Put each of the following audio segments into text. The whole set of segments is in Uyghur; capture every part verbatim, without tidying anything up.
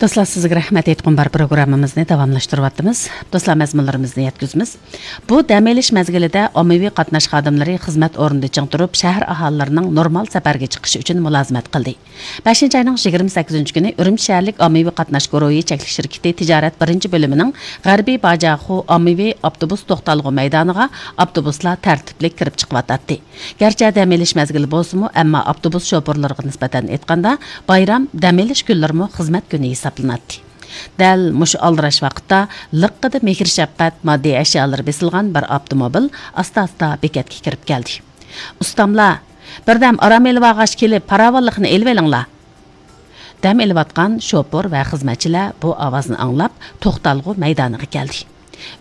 دوستلار، سىزگە رەھمەت ئېيتقۇم بار پروگراممىمىزنى داۋاملاشتۇرۇۋاتىمىز. دوستلار، مەزمۇنلىرىمىزنى يەتكۈزىمىز. بۇ دەم ئېلىش مەزگىلىدە ئاممىۋى قاتناش خادىملىرى خىزمەت ئورنىدا چىڭ تۇرۇپ، شەھەر ئاھالىلىرىنىڭ نورمال سەپەرگە چىقىشى ئۈچۈن مۇلازىمەت قىلدى. بەشىنچى ئاينىڭ يىگىرمە سەككىزىنچى كۈنى ئۈرۈمچى شەھەرلىك ئاممىۋى قاتناش گۇرۇھى چەكلىك شىركىتى تىجارەت بىرىنچى بۆلۈمىنىڭ غەربىي باجاخۇ ئاممىۋى ئاپتوبۇس توختالغۇ مەيدانىغا ئاپتوبۇسلار تەرتىپلىك كىرىپ چىقىۋاتاتتى. گەرچە دەم ئېلىش مەزگىلى بولسىمۇ، ئەمما ئاپتوبۇس شوپۇرلىرىغا نىسبەتەن ئېيتقاندا، بايرام دەم ئېلىش كۈنلىرىمۇ خىزمەت كۈنى ھېسابلىناتتى. دەل مۇشۇ ئالدىراش ۋاقىتتا لىققىدە مېھىر-شەپقەت ماددىي ئەشيالىرى بېسىلغان بىر ئاپتوموبىل ئاستا-ئاستا بېكەتكە كىرىپ كەلدى. ئۇستاملار، بىردەم ئارام ئېلىۋالغاچ كېلىپ، پاراۋانلىقنى ئېلىۋېلىڭلار! دەم ئېلىۋاتقان شوپۇر ۋە خىزمەتچىلەر بۇ ئاۋازنى ئاڭلاپ، توختالغۇ مەيدانىغا كەلدى.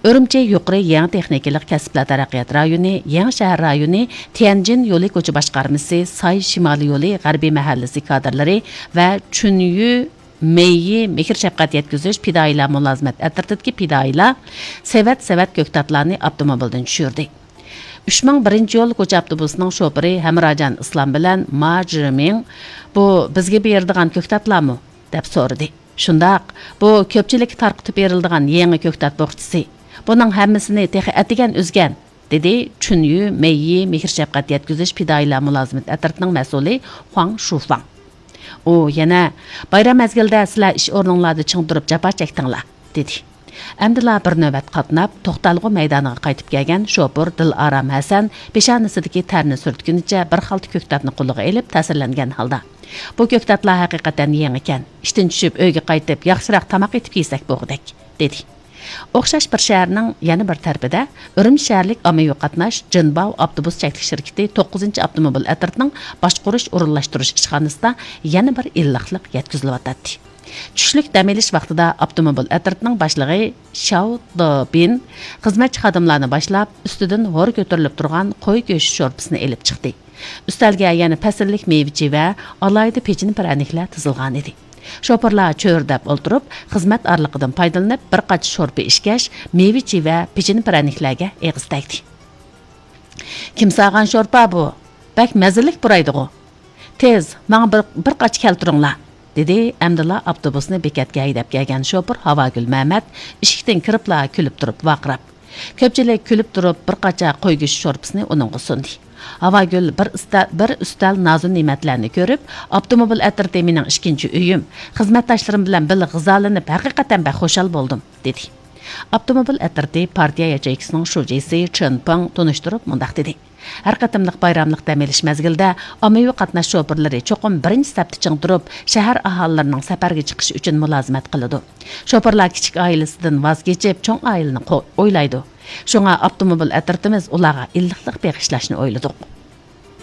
ئۈرۈمچى يۇقىرى يېڭى تېخنىكىلىق كەسىپلەر تەرەققىيات رايونى، يېڭى شەھەر رايونى، تيەنجىن يولى كوچا باشقارمىسى، ساي شىمالىي يولى غەربىي مەھەللىسى كادىرلىرى ۋە چۈنيۈ مېيى مېھىر-شەپقەت يەتكۈزۈش پىدائىيلار مۇلازىمەت ئەترىتىدىكى پىدائىيلار سېۋەت-سېۋەت كۆكتاتلارنى ئاپتوموبىلدىن چۈشۈردى. ئۈچ مىڭ بىرىنچى يول كوچا ئاپتوبۇسىنىڭ شوپۇرى ھەمراجان ئىسلام بىلەن ما جىمىڭ، «بۇ بىزگە بېرىدىغان كۆكتاتلارمۇ؟» دەپ سورىدى. «شۇنداق، بۇ كۆپچىلىككە تارقىتىپ بېرىلىدىغان يېڭى كۆكتات بوخچىسى. بۇنىڭ ھەممىسىنى تېخى ئەتىگەن ئۈزگەن»، دېدى چۈنيۈ مېيى مېھىر-شەپقەت يەتكۈزۈش پىدائىيلار مۇلازىمەت ئەترىتىنىڭ مەسئۇلى خۇاڭ شۇفاڭ. ئۇ يەنە، «بايرام مەزگىلىدە سىلەر ئىش ئورنۇڭلاردا چىڭ تۇرۇپ جاپا چەكتىڭلار» دېدى. ئەمدىلا بىر نۆۋەت قاتناپ، توختالغۇ مەيدانىغا قايتىپ كەلگەن شوپۇر دىلئارام ھەسەن پېشانىسىدىكى تەرنى سۈرتكىنىچە بىر خالتا كۆكتاتنى قولىغا ئېلىپ، تەسىرلەنگەن ھالدا، «بۇ كۆكتاتلار ھەقىقەتەن يېڭىكەن. ئىشتىن چۈشۈپ ئۆيگە قايتىپ، ياخشىراق تاماق ئېتىپ يېسەك بوغۇدەك» دېدى. ئوخشاش بىر شەھەرنىڭ يەنە بىر تەرىپىدە ئۈرۈمچى شەھەرلىك ئاممىۋى قاتناش جىنباۋ ئاپتوبۇس چەكلىك شىركىتى توققۇزىنچى ئاپتوموبىل ئەترىتىنىڭ باشقۇرۇش ئورۇنلاشتۇرۇش ئىشخانىسىدا يەنە بىر ئىللىقلىق يەتكۈزۈلۈۋاتاتتى. چۈشلۈك دەم ئېلىش ۋاقتىدا ئاپتوموبىل ئەترىتىنىڭ باشلىقى شياۋ دېبىن خىزمەتچى خادىملارنى باشلاپ، ئۈستىدىن ھور كۆتۈرۈلۈپ تۇرغان قوي گۆشى شورپىسىنى ئېلىپ چىقتى. ئۈستەلگە يەنە پەسىللىك مېۋە-چىۋە، ئالاھىدە پېچىنە پىرەنىكلەر تىزىلغانىدى. شوپۇرلار چۆرىدەپ ئولتۇرۇپ، خىزمەت ئارىلىقىدىن پايدىلىنىپ، بىر قاچا شورپا ئىچكەچ، مېۋە-چىۋە، پېچىنە پىرەنىكلەرگە ئېغىز تەگدى. «كىم سالغان شورپا بۇ؟ بەك مەززىلىك پۇرايدىغۇ! تېز، ماڭا بىر، بىر قاچا كەلتۈرۈڭلار!» دېدى ئەمدىلا ئاپتوبۇسنى بېكەتكە ھەيدەپ كەلگەن شوپۇر ھاۋاگۈل مەمەت ئىشىكتىن كىرىپلا كۈلۈپ تۇرۇپ ۋارقىراپ. كۆپچىلىك كۈلۈپ تۇرۇپ بىر قاچا قوي گۆشى شورپىسىنى ئۇنىڭغا سۇندى. ھاۋاگۈل بىر ئۈستە-، بىر ئۈستەل نازۇ نېمەتلەرنى كۆرۈپ، «ئاپتوموبىل ئەترىتى مېنىڭ ئىككىنچى ئۆيۈم. خىزمەتداشلىرىم بىلەن بىللە غىزالىنىپ، ھەقىقەتەن بەك خۇشال بولدۇم» دېدى. ئاپتوموبىل ئەترىتى پارتىيە ياچېيكىسىنىڭ شۇجىسى چېن پېڭ تونۇشتۇرۇپ مۇنداق دېدى: «ھەر قېتىملىق بايراملىق دەم ئېلىش مەزگىلىدە ئاممىۋى قاتناش شوپۇرلىرى چوقۇم بىرىنچى سەپتە چىڭ تۇرۇپ، شەھەر ئاھالىلىرىنىڭ سەپەرگە چىقىشى ئۈچۈن مۇلازىمەت قىلىدۇ. شوپۇرلار كىچىك ئائىلىسىدىن ۋاز كېچىپ، چوڭ ئائىلىنى قو-، ئويلايدۇ. شۇڭا ئاپتوموبىل ئەترىتىمىز ئۇلارغا ئىللىقلىق بېغىشلاشنى ئويلىدۇق»